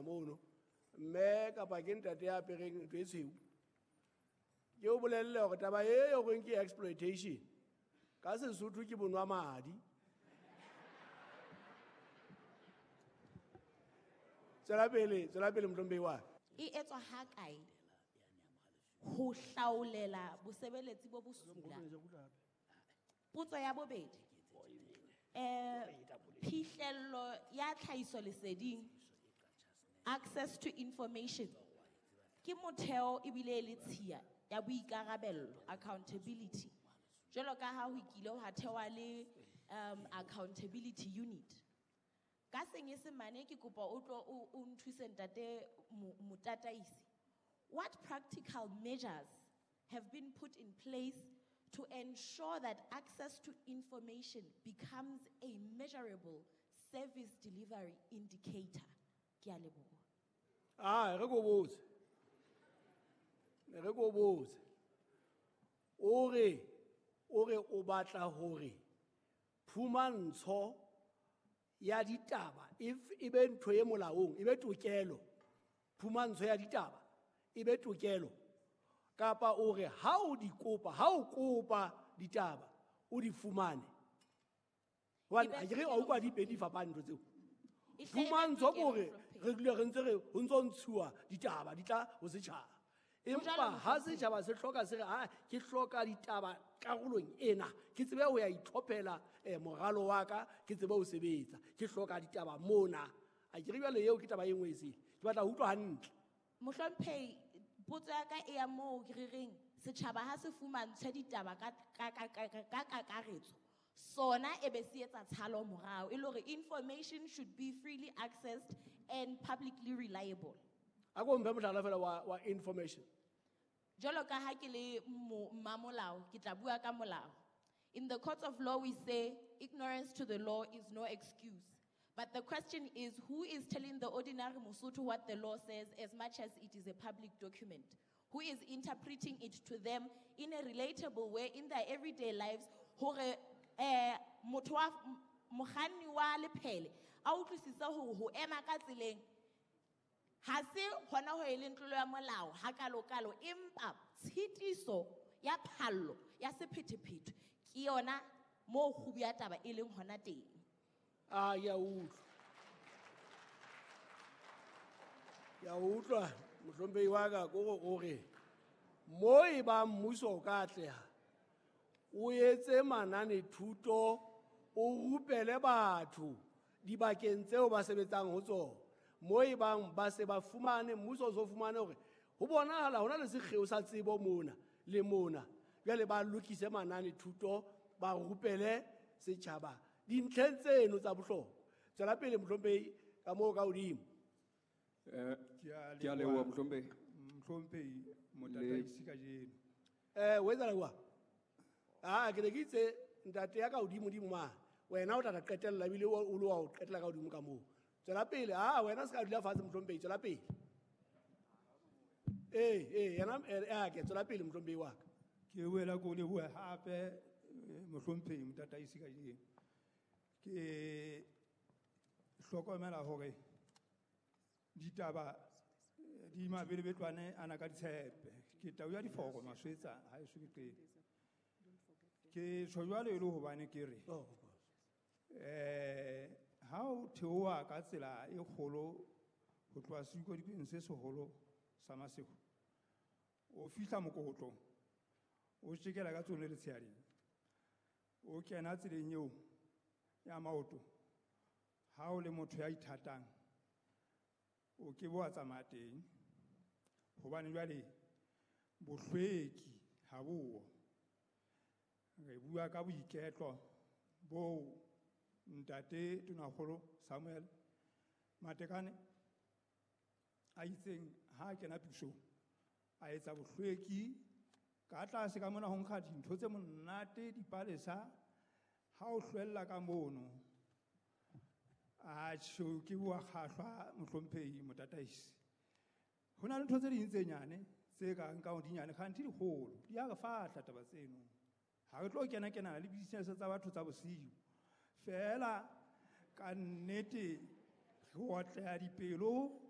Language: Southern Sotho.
mono. Mme kapa ke ntate ya apereng ntho e tshweu. Ke o bolelle hore taba e yo reng ke exploitation. Ka Sesotho ke bonwa madi. Tswela pele, tswela pele mohlomphehi wa ka. E etswa ha kae ho hlaolela bosebeletsi bo bosula? Potso ya bobedi. Phihlello ya tlhahiso leseding, access to information, ke motheo ebile e le tshiya ya boikarabello, accountability. Jwalo ka ha ho kile hwa thewa le accountability unit. Ka senyesemane ke kopa o tlo o nthuse ntate motataisi. What practical measures have been put in place to ensure that access to information becomes a measurable service delivery indicator? Ke a leboha. Ah, re ko botse. Re ko botse. O re o batla hore phumantsho ya ditaba if e be ntho e molaong, e be tokelo. Phumantsho ya ditaba e be tokelo. Kapa o re ha o di kopa, ha o kopa ditaba, o di fumane. Hobane E be ha ke re ha utlwa di pedi fapane ntho tseo. E hle e be Phumantsho tokelo, ke hore Mohlomphehi. re dule re ntse re ho ntso ntshuwa ditaba di tla ho setjhaba. Ho jwalo, Empa ha Mohlomphehi. setjhaba se hloka se re, ha ke hloka ditaba karolong ena, ke tsebe ho ya itlhophela, moralo wa ka, ke tsebe ho sebetsa, ke hloka ditaba mona. A ke re jwale eo ke taba e nngwe e sele. Ke batla ho utlwa hantle. Mohlomphehi, potso ya ka e ya moo ke re reng setjhaba ha se fumantshwe ditaba ka kakaretso, sona e be se etsa tshalo morao, e le hore information should be freely accessed and publicly reliable. A ko mphe mohlala fela wa information. Jwalo ka ha ke le mmamolao, ke tla bua ka molao. In the courts of law, we say ignorance to the law is no excuse. But the question is, who is telling the ordinary Mosotho what the law says as much as it is a public document? Who is interpreting it to them in a relatable way in their everyday lives? Hore, motho wa mokganni wa lephele, a utlwisise hore ho ema ka tseleng, ha se hona ho e leng tlolo ya molao, ha kalokalo, empa tshitiso ya phallo ya sephethephethe ke yona moo kgubu ya taba e leng hona teng. Ah, ke a utlwa. Ke a utlwa, mohlomphehi wa ka, ke hore o re, mo e bang mmuso o ka atleha, o etse mananethuto, o rupele batho dibakeng tseo ba sebetsang ho tsona. Mo e bang ba se ba fumane, mmuso o so fumane hore ho bonahala hona le sekgeo sa tsebo mona le mona. Jwale ba lokise mananethuto, ba rupele setjhaba dintlheng tseno tsa bohlokwa. Tswela pele mohlomphehi ka moo ka hodimo. Ke a Ke a leboha, mohlomphehi. Mohlomphehi, motataisi kajeno. O etsa jwang? Ah, ke ne ke itse ntate ya ka hodimo dimo mane. Wena o tla tla qetella ebile o le wa ho qetella ka hodimo ka moo. Tswela pele, ah, wena se ka dula fatshe mohlomphehi, tswela pele. Eh, yena, ke tswela pele mohlomphehi wa ka. Ke boela ke o leboha hape, mohlomphehi motataisi kajeno. Ke hlokomela hore ditaba di mabelebetlwane ana ka ditshepe. Ke tau ya diforo maswetsa ha eso ke qete. Ke tjho jwalo e le hobane ke re, Oh, of course. ha o theoha ka tsela e kgolo ho tloha sedikodikweng se seholo sa Maseru, o fihla mokokotlong, o tjekela ka tsone letshehading, o kena tseleng eo ya maoto, ha o le motho ya ithatang, o ke bo wa tsamaya teng, hobane jwale bohlweki ha bo. Re bua ka boiketlo bo ntate Tonakgolo Samuel Matekane a itseng ha a kena pusong, a etsa bohlweki ka tlase ka mona ho nkga dintho tse monate, dipalesa, ha o hlwella ka mono. Atjhe, ke bua kgahlwa mohlomphehi motataisi. Ho na le ntho tse ding tse nyane, tse kang ka di nyane, kganthe di kgolo, di a re fahla taba tseno. Ha re tlo kena kenana le business tsa batho tsa bosiu. Feela ka nnete re otleha dipelo.